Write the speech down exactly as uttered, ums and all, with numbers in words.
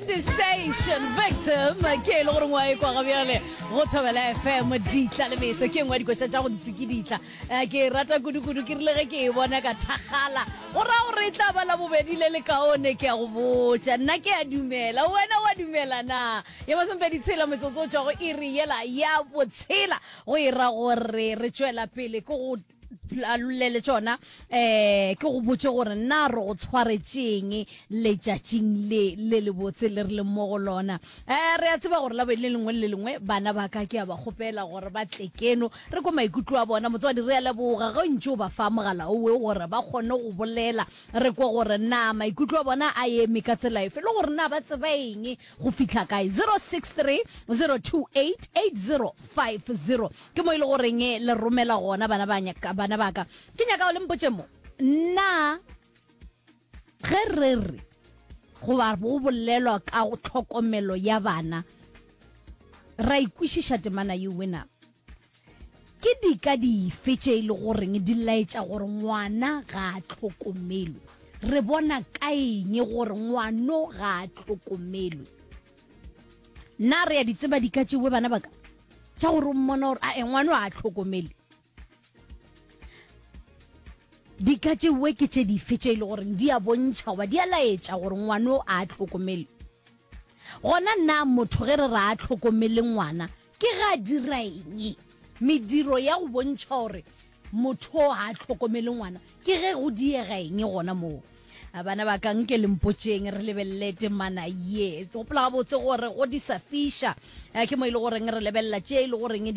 Brandy Station Victim ke e le gore ngwa e kwa ga bjale go Thobela F M. Ditla le meso ke engwe ya dikoša tša go ntsikiditla. Eh, ke e rata kudu-kudu, ke rile ge ke e bona ka thakgala, go ra gore e tla ba la bobedi le lekaone. Ke a go botša, nna ke a dumela, wena wa dumela na? Ya masomepedi tshela metsotso o tšwa go iri yela ya botshela, go e ra gore re tšwela pele ke go lolele tšona. um ke go botse gore nna re go tshwaretšeng letšatšing le le lebotse le re leng mo go lona. um re a tseba gore labobedi le lengwe le le lengwe bana ba ka ke a ba kgopela gore ba tle keno re ko maikutlo a bona. Motswadi, re a leboga ge ntše o ba fa mogala owe gore ba kgone go bolela, re kwe gore na maikutlo a bona a eme ka tsela efe le gore na ba tseba eng go fihla kae. zero six three zero two eight eight zero five zero ke mo e le goreng le romela gona. Bana ba nyaka, bana ba ka, ke nyaka o le mpotse mo nna ge re re goba go bolelwa ka go tlhokomelo ya bana, ra ikwešiša temana ye wena, ke dika dife tše e le goreng di laetša gore ngwana ga a tlhokomelwe? Re bona ka eng gore ngwano ga a tlhokomelwe? Nna re ya di tseba dika tšewe, bana ba ka, tša gore o mmona gore ae, ngwano ga a tlhokomele? Dika tšewe ke tše dife tše e le goreng di a bontšha goba di a laetša gore ngwano a tlhokomele? Gona nna motho ge re re a tlhokomele ngwana, ke ga a dira eng? Mediro ya go bontšha gore motho o a tlhokomele ngwana ke ge go diega eng gona moo? A bana ba ka, nke le mpotšeng, re lebelele temana ye. Gopola gabotse gore go di sa fiša, eh, ke mo e le goreng re lebelela tše e le goreng